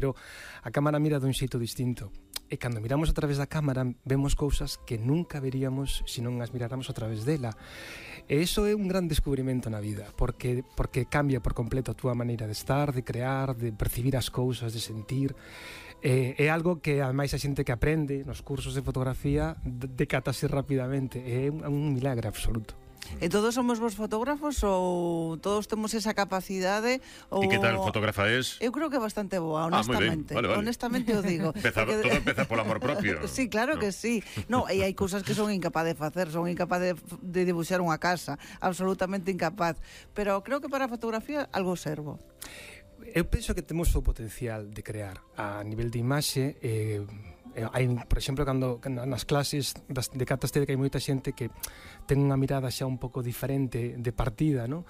pero a cámara mira dun xeito distinto. E cando miramos a través da cámara vemos cousas que nunca veríamos se non as miráramos a través dela. E iso é un gran descubrimento na vida, porque cambia por completo a túa maneira de estar, de crear, de percibir as cousas, de sentir. É algo que ademais a xente que aprende nos cursos de fotografía decátase rapidamente. É un milagre absoluto. E todos somos vos fotógrafos ou todos temos esa capacidade? E que tal fotógrafa es? Eu creo que bastante boa, honestamente. Vale. Honestamente o digo. Todo empeza polo amor propio. Sí, claro que sí. No, e hai cousas que son incapaz de facer, son incapaz de dibuixar unha casa, absolutamente incapaz. Pero creo que para a fotografía algo servo. Eu penso que temos o potencial de crear a nivel de imaxe. Hai, por exemplo, cando nas clases decataste que hai moita xente que ten unha mirada xa un pouco diferente de partida, non?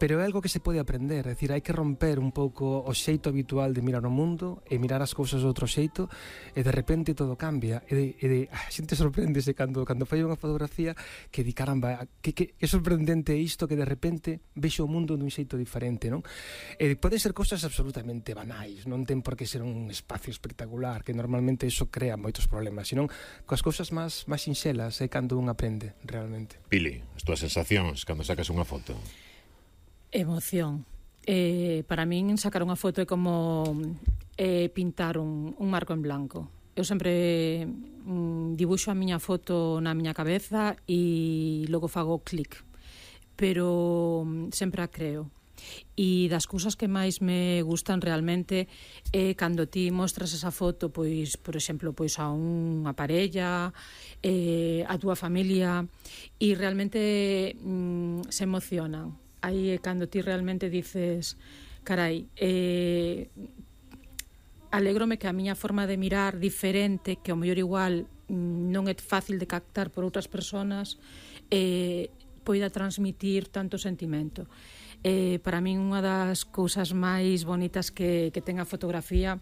Pero é algo que se pode aprender, é dicir, hai que romper un pouco o xeito habitual de mirar o mundo e mirar as cousas de outro xeito, e de repente todo cambia, a xente sorprendese cando fai unha fotografía que di, caramba, que sorprendente isto, que de repente vexo o mundo dun xeito diferente, non? E pode ser cousas absolutamente banais, non ten por que ser un espacio espectacular, que normalmente iso crea moitos problemas, senón coas cousas máis sinxelas é cando un aprende realmente. Pili, as túas sensacións cando sacas unha foto? Emoción. Para min sacar unha foto é como pintar un marco en blanco. Eu sempre dibuixo a miña foto na miña cabeza e logo fago clic, pero sempre a creo. E das cousas que máis me gustan realmente é cando ti mostras esa foto, pois, por exemplo, pois a unha parella, a túa familia, e realmente se emocionan. Aí é cando ti realmente dices, carai, alégrome que a miña forma de mirar diferente, que ao mellor igual non é fácil de captar por outras persoas, poida transmitir tanto sentimento. Para min unha das cousas máis bonitas que ten a fotografía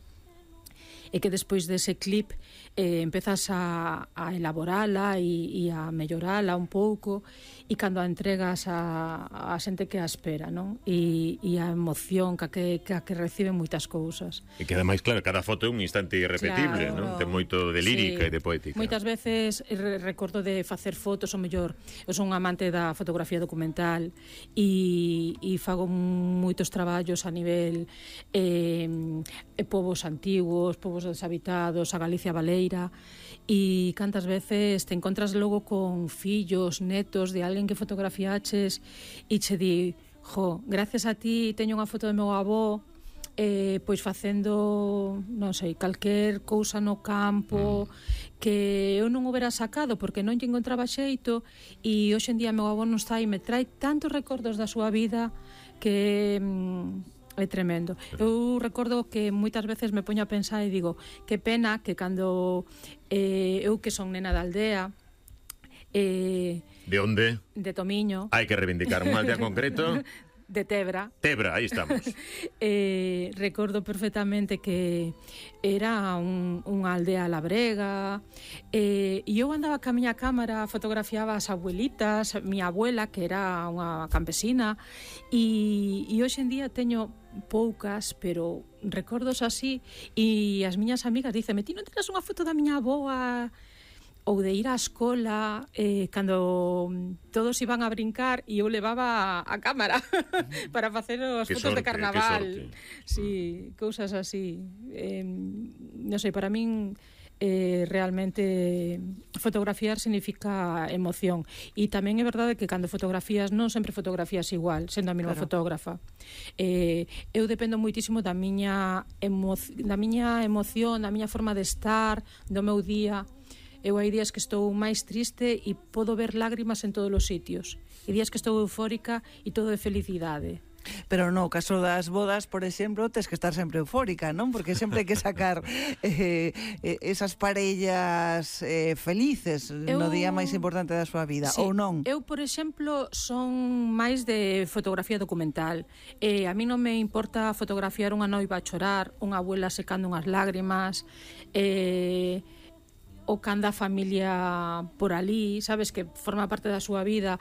é que despois dese clip empezas a elaborala e a mellorala un pouco, e cando a entregas a xente que a espera, non? E a emoción que reciben moitas cousas. E que ademais, claro, cada foto é un instante irrepetible, claro, non? Ten moito de lírica, sí, e de poética. Moitas veces recordo de facer fotos, ou mellor, eu son un amante da fotografía documental e fago moitos traballos a nivel povos antigos, povos deshabitados, a Galicia baleira, e cantas veces te encontras logo con fillos, netos de alguén que fotografiaches e che di, gracias a ti teño unha foto do meu avó pois facendo, non sei, calquer cousa no campo que eu non houbera sacado porque non lle encontraba xeito, e hoxe en día meu avó non está e me trae tantos recordos da súa vida que é tremendo. Eu recordo que moitas veces me poño a pensar e digo, que pena que cando eu que son nena da aldea, de onde? De Tomiño. Hai que reivindicar unha aldea concreto. De Tebra. Tebra, aí estamos. Recordo perfectamente que era unha aldea labrega, e eu andaba ca miña cámara, fotografiaba as abuelitas, miña abuela, que era unha campesina, e hoxe en día teño poucas, pero recordos así, e as miñas amigas dicen, ti non tenes unha foto da miña avoa, ou de ir á escola cando todos iban a brincar e eu levaba a cámara para facer os fotos de carnaval. Sí, cousas así. Non sei, para min realmente fotografiar significa emoción, e tamén é verdade que cando fotografías non sempre fotografías igual, sendo a mesma fotógrafa. Eu dependo moitísimo da miña emoción, da miña forma de estar, do meu día. Eu hai días que estou máis triste e podo ver lágrimas en todos os sitios, e días que estou eufórica e todo de felicidade. Pero no caso das bodas, por exemplo, tes que estar sempre eufórica, non? Porque sempre hai que sacar esas parellas felices no día máis importante da súa vida, sí, ou non? Eu, por exemplo, son máis de fotografía documental. A mí non me importa fotografiar unha noiva a chorar, unha abuela secando unhas lágrimas, ou cando a familia por ali, sabes, que forma parte da súa vida.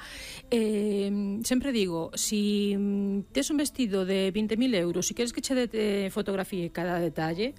Sempre digo, si tes un vestido de 20.000 euros e queres que che fotografíe cada detalle,